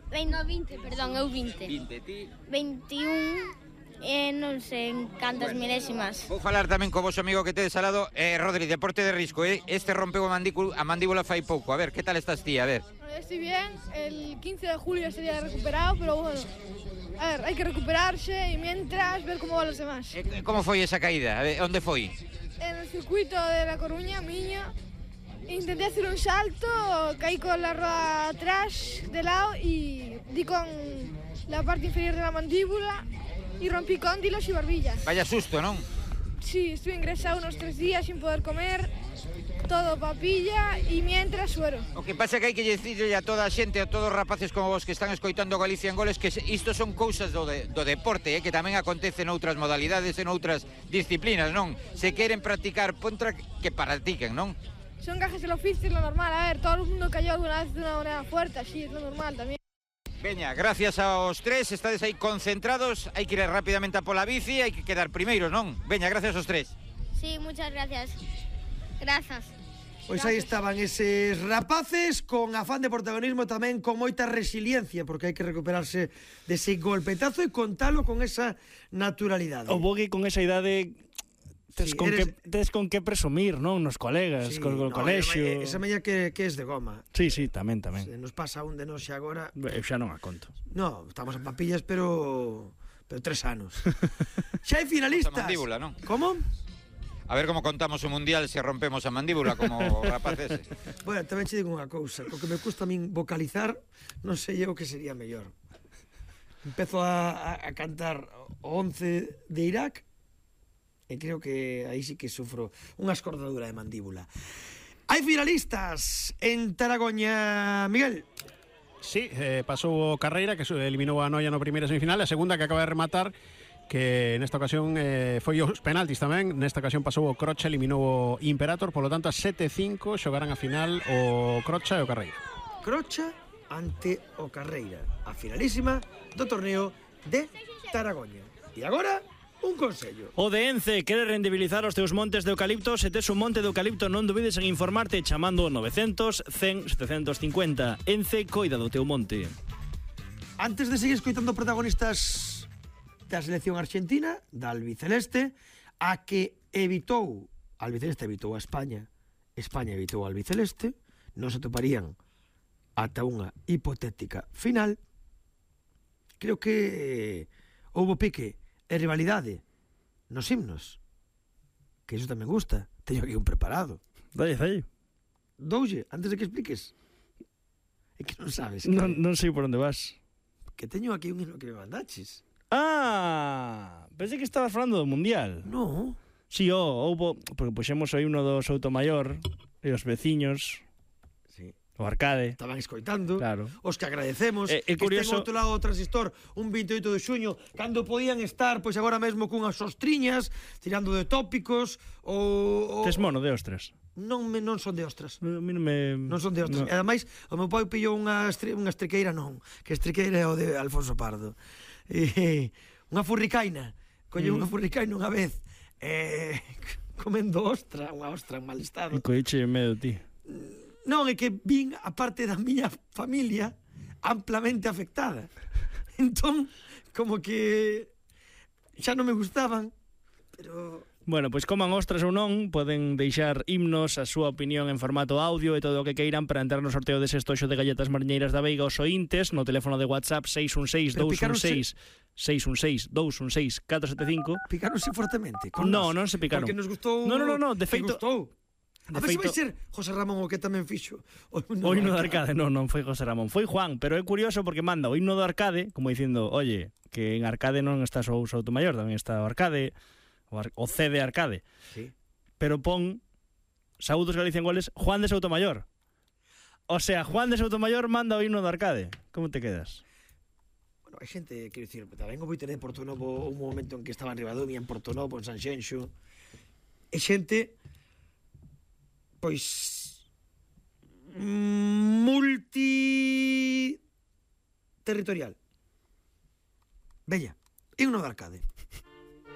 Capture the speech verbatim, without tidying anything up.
No, vinte, perdón, eu vinte. vinte, ti? veintiún, e non sei en cantas Bueno. milésimas. Vou falar tamén co vosso amigo que tedes al lado. eh, Rodri, deporte de risco, eh? Este rompeu a mandíbula, a mandíbula fai pouco. A ver, que tal estás ti? A ver. Estoy bien, el quince de julio estaría recuperado, pero bueno, a ver, hay que recuperarse y mientras ver cómo van los demás. Eh, como foi esa caída? A ver, onde foi? En el circuito de La Coruña, Miño, intenté hacer un salto, caí con la rueda atrás de lado y di con la parte inferior de la mandíbula y rompí cóndilos y barbillas. Vaya susto, non? Sí, estuve ingresado unos tres días sin poder comer, todo papilla y mientras suero. O que pasa é que hai que dicirle a toda a xente, a todos os rapaces como vos que están escoitando Galicia en Goles, que isto son cousas do, de, do deporte, eh, que tamén acontece noutras modalidades e noutras disciplinas, non? Se queren practicar, pontra que practiquen, non? Son gajes del oficio, es lo normal. A ver, todo el mundo cayó alguna vez de una manera fuerte, así es lo normal también. Veña, gracias aos tres, estades aí concentrados, hai que ir rapidamente a pola bici, hai que quedar primeiros, non? Veña, gracias aos tres. Sí, muchas gracias. Gracias. Pois aí estaban eses rapaces con afán de protagonismo, tamén con moita resiliencia, porque hai que recuperarse dese golpetazo e contalo con esa naturalidade. O Bogui con esa idade tes, Sí, con, eres... que, tes con que presumir, non? Nos colegas, Sí, co, co no, colexio. Esa meña que, que es de goma. Sí, sí, tamén, tamén. Se nos pasa un de nós xa agora... Eu xa non a conto. No, estamos en papillas, pero... pero tres anos. Xa hai finalistas. A mandíbula, non? Como? A ver como contamos o mundial se rompemos a mandíbula como rapaz ese. Bueno, tamén che digo unha cousa. Co que me custa a min vocalizar, non sei eu que sería mellor. Empezo a, a, a cantar o once de Irak e creo que aí sí que sufro unha escordadura de mandíbula. Hai finalistas en Taragoña, Miguel. Sí, eh, pasou o Carreira, que eliminou a Noia no primeira semifinal, a segunda que acaba de rematar, que nesta ocasión eh, foi os penaltis tamén, nesta ocasión pasou o Crocha, eliminou o Imperator, polo tanto a sete cinco xogarán a final o Crocha e o Carreira. Crocha ante o Carreira, a finalísima do torneo de Taragoña. E agora, un consello. O de Ence quere rendibilizar os teus montes de eucalipto. Se tes un monte de eucalipto, non dubides en informarte chamando novecientos, cen, setecientos cincuenta. Ence coida do teu monte. Antes de seguir escoitando protagonistas da selección argentina, da albiceleste, a que evitou, a albiceleste evitou a España, España evitou a albiceleste, non se toparían ata unha hipotética final. Creo que houbo pique e rivalidade nos himnos, que iso tamén gusta. Teño aquí un preparado. Dalle, dalle. Doulle, antes de que expliques. É que non sabes que, Non, non sei por onde vas. que teño aquí un himno que me mandaches. Ah, pensei que estabas falando do Mundial. No. Si, sí, oh, houbo, porque puxemos o himno do Soutomaior e os veciños, Sí. o Arcade. Estaban escoitando, Claro. os que agradecemos, É, é que curioso- estén ao outro lado do transistor un veintioito de xuño, cando podían estar, pois agora mesmo cunhas sostriñas, tirando de tópicos, ou... Tes mono de ostras. Non, me, non son de ostras. A mí non me... Non son de ostras. No. E ademais, o meu pai pillou unha, estre, unha estriqueira, non, que estriqueira é o de Alfonso Pardo. E, unha furricaina. Colleu Mm. unha furricaina unha vez, e comendo ostra, unha ostra en mal estado. E coiche en medio ti. Non, é que vin a parte da miña familia amplamente afectada. Entón, como que xa non me gustaban, pero... Bueno, pois coman ostras ou non, poden deixar himnos, a súa opinión en formato audio e todo o que queiran para entrar no sorteo dese estoxo de galletas mariñeiras da Veiga aos ointes no teléfono de WhatsApp seis un seis, dous un seis, seis un seis, dous un seis, catro sete cinco. Picaronse fortemente con No, nos, non se picaron. Porque nos gustou... No, no, no, no, de que feito- gustou. de A ver se vai feito- ser José Ramón o que tamén fixo o O himno do Arcade, non, non foi José Ramón, foi Juan, pero é curioso porque manda o himno do Arcade, como dicindo, oye, que en Arcade non está só o Soutomaior, tamén está o Arcade, o, Ar o C de Arcade. Sí. Pero pon Saúdos Galicia en Goles, Juan de Soutomaior. O sea, Juan de Soutomaior manda o himno do Arcade. Como te quedas? Bueno, hai xente, quero dicir, tamén o Boiteré de Portonovo, un momento en que estaba en Ribadumia, en Portonovo, en Sanxenxo, e xente, pois, multi territorial. Veña, himno do Arcade.